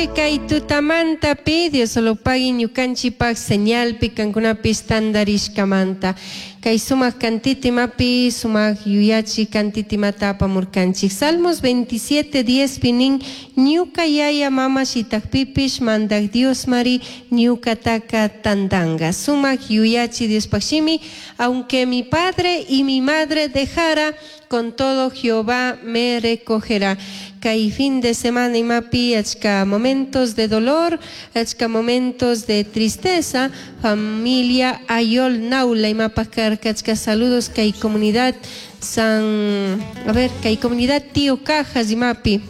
Kay tutamantapi Diosolopagui ñukanchikpak señalpi kankunapish tantarishkamanta. Kay sumak kantitimapi sumak yuyachi kantitimata apamurkanchik. Salmos 27, 10 pi nin, ñuka yaya mama shitakpipish mandak Diosmari ñukataka tantanga. Sumak yuyachi Diospaj shimi, aunque mi padre y mi madre dejara, con todo Jehová me recogerá. Kay fin de semana imapi achka momentos de dolor, achka momentos de tristeza, familia Ayol Naula imapaj karka achka saludos kay comunidad San, a ver, kay comunidad Tío Cajas imapi.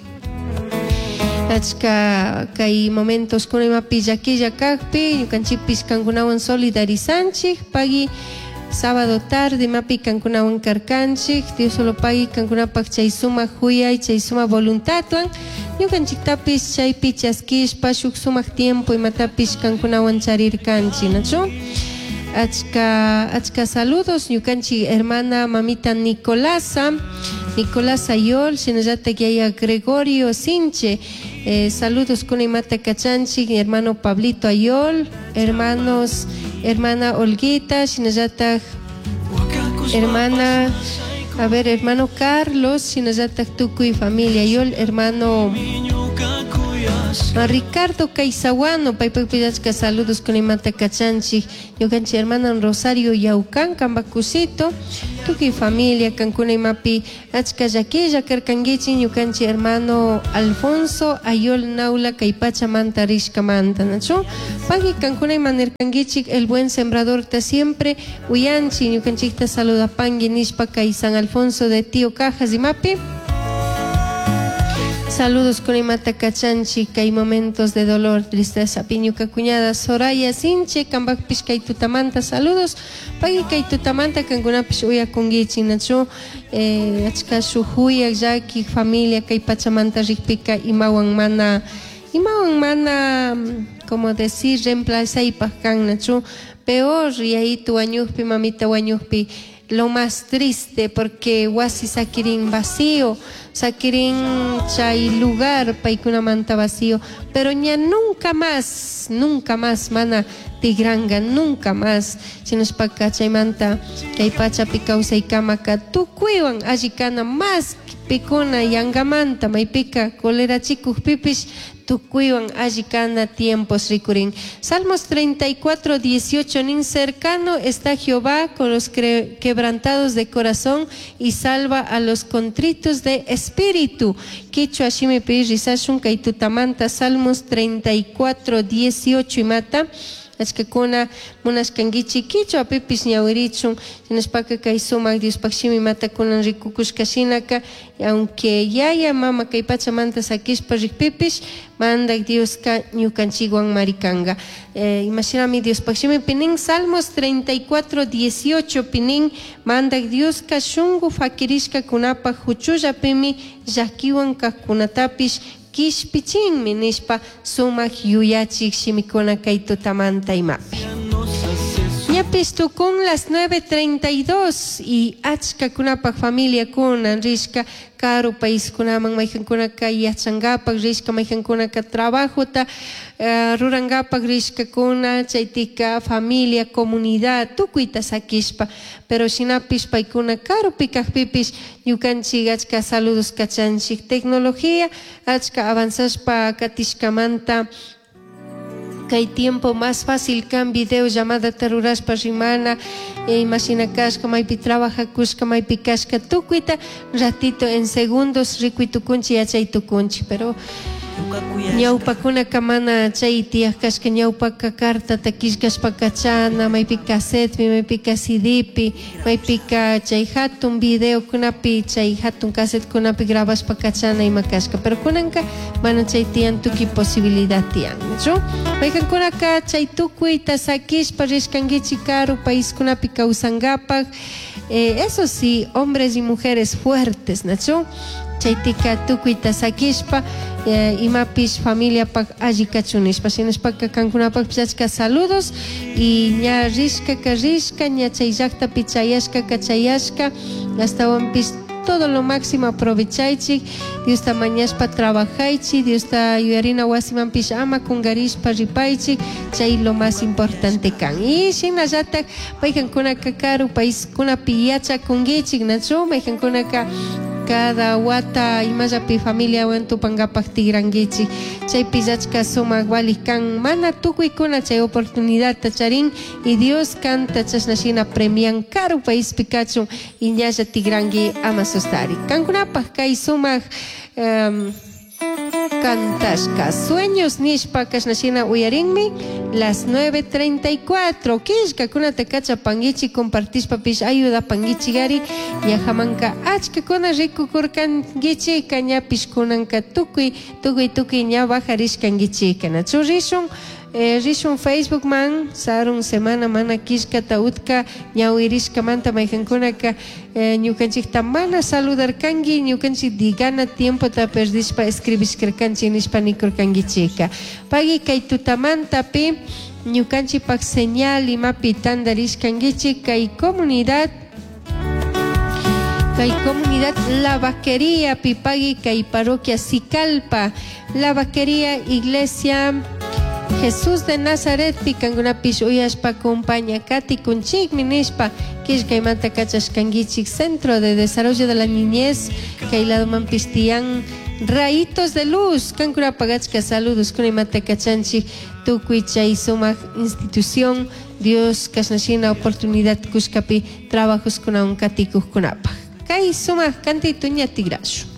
Achka kay momentos kuna imapi llaquilla kakpi, ñukanchikpish kankunawan solidarizanchik, pagui sábado tarde imapi kankunawan karkanchik, Dios solo pagui kankunapak chay sumak huyay, chay sumak voluntadwan, ñukanchiktapish chaypi chaskishpa shuk sumak tiempo imatapish kankunawan charirkanchik, nachu? Achka, achka saludos ñukanchik hermana mamita Nicolasa, Nicolás Ayol, shinallatak yaya Gregorio Sinche, saludos kuna imata kachanchik, hermano Pablito Ayol, hermanos, hermana Olguita, shinallatak hermana, a ver, hermano Carlos, shinallatak tukuy familia Ayol, hermano Ricardo Caizahuano, paypakpish achka saludos kuna imata kachanchik, ñukanchik hermana Rosario Yaucan, Cambacucito, tukuy familia kankuna imapi achka llaquilla karkankichik, ñukanchik hermano Alfonso Ayol Naula kay pachamanta rishkamanta, nachu? Pagui kankuna ima nirkankichik, el buen sembrador ta siempre uyanchik, ñukanchikta saludapangui nishpa kay San Alfonso de Tío Cajas imapi. Saludos con imata kachanchik kay momentos de dolor, tristeza. Piñuka cuñada Soraya Sinche, kambakpish kay tutamanta saludos. Pagui kay tutamanta kankunapish uyakunkichik, nachu? Achka shuk huyak llaki familia kay pachamanta rikpika imawan mana, imawan mana, como decir, reemplazaypaj kan, nachu? Peor yayitu wañukpi, mamita wañukpi, lo más triste porque wasi sakirin vacío, sakirin chay lugar paykunamanta vacío, pero ña nunca más, nunca más mana tigranga, nunca más. Shinashpaka chaymanta kay pachapi kawsaykamaka tukuywan alli kana más pikuna yangamanta maypika colerachikukpipish tukuywan alli kana tiempos rikurin. Salmos 34, 18 nin cercano está Jehová con los quebrantados de corazón y salva a los contritos de espíritu. Kichwa shimipi rizashun kay tutamanta Salmos 34, 18 imata. Achkakuna munashkankichik kichwa pipish ñawirichun shinashpaka kay sumak Diospaj shimi imatakunan rikukushka shinaka, aunque yaya mama kay pachamanta sakishpa rikpipish mandak Dioska ñukanchikwan marikanga. Imashinami Diospaj shimipi nin Salmos 34, 18 pi nin mandak Dioska shunku fakirishkakunapak huchullapimi llakiwan kajkunatapish kishpichinmi nishpa sumak yuyachik shimikuna kay tutamanta imapi. Ñapish tukun las 9:32 y achkakunapak familiakuna rishka karu paiskunaman maykankunaka yachankapak rishka maykankunaka trabajota rurankapak rishkakuna chaytika familia comunidad tukuyta sakishpa pero shinapish paykuna karupi kakpipish ñukanchik achka saludos kachanchik tecnología achka avanzashpa katishkamanta kay tiempo más fácil kan video llamada rurashpa rimana, imashina kashka maypi trabajakushka maypi kashka tukuyta ratito en segundos rikuy tukunchik yachay tukunchik pero ñawpakunaka mana chay tiyaj kashka ñawpaka cartata killkashpa kachana maypi cassettepi maypika CDpi maypika chay hatun videokunapi chay hatun cassettekunapi grabashpa kachana ima kashka pero kunanka mana chay tiyan tukuy posibilidad tiyan nachu maykankunaka chay tukuyta sakishpa rishkankichik karu paiskunapi kawsankapak, eso sí, hombres y mujeres fuertes, nachu chaytika tukuyta sakishpa, imapish familiapak alli kachun nishpa shinashpaka kankunapakpish achka saludos y ña rishkaka rishka ña chay llaktapi chayashkaka chayashka astawanpish Todo lo máximo aprovechaychik. Diosta mañashpa trabajaychik. Diosta yuyarina wasimanpish ama kungarishpa ripaychik. Chay lo más importante kan. Y shinallatak maykankunaka karu paiskunapi yachakunkichik, nachu? Maykankunaka cada wata imallapi familiawan tupankapak tigrankichik. Chaypi achka sumak valik kan. Mana tukuykuna chay oportunidadta charin y Dios kanta chashna shina premian karu paispi kachun y ñalla tigranki ama sustari. Kankunapak kay sumak cantashka Sueños nishpa kashna shina uyarinmi las 9:34. Killkakunata kachapankichik, compartishpapish ayudapankichik ari. Ñajamanka achkakuna rikukurkankichik, ñapish kunanka tukuy, tukuy, tukuy ña bajarishkankichik. Nachu rishun, rishun Facebook man, sarun semana mana killkata utka ñawirishkamanta maykankunaka, ñukanchikta mana saludarkanki, ñukanchik digana tiempota perdishpa escribishkarkanchik nishpa nikurkankichika. Pagui kay tutamantapi ñukanchikpak señal imapi tandarishkankichik kay comunidad, kay comunidad La Vaquería pipagui kay parroquia Sicalpa, La Vaquería Iglesia Jesús de Nazaret pikankunapish uyashpa compaña katikunchikmi nishpa killkaymanta kachashkankichik. Centro de Desarrollo de la Niñez kay ladomanpish tiyan Rayitos de Luz, kankunapaq achka saludos kunaymanta kachanchik tukuy chay sumak institución Dios kashnashina oportunidad kushkapi trabajos kunawan katikuqkunapaq. Kay sumak kantito ña tigrashu.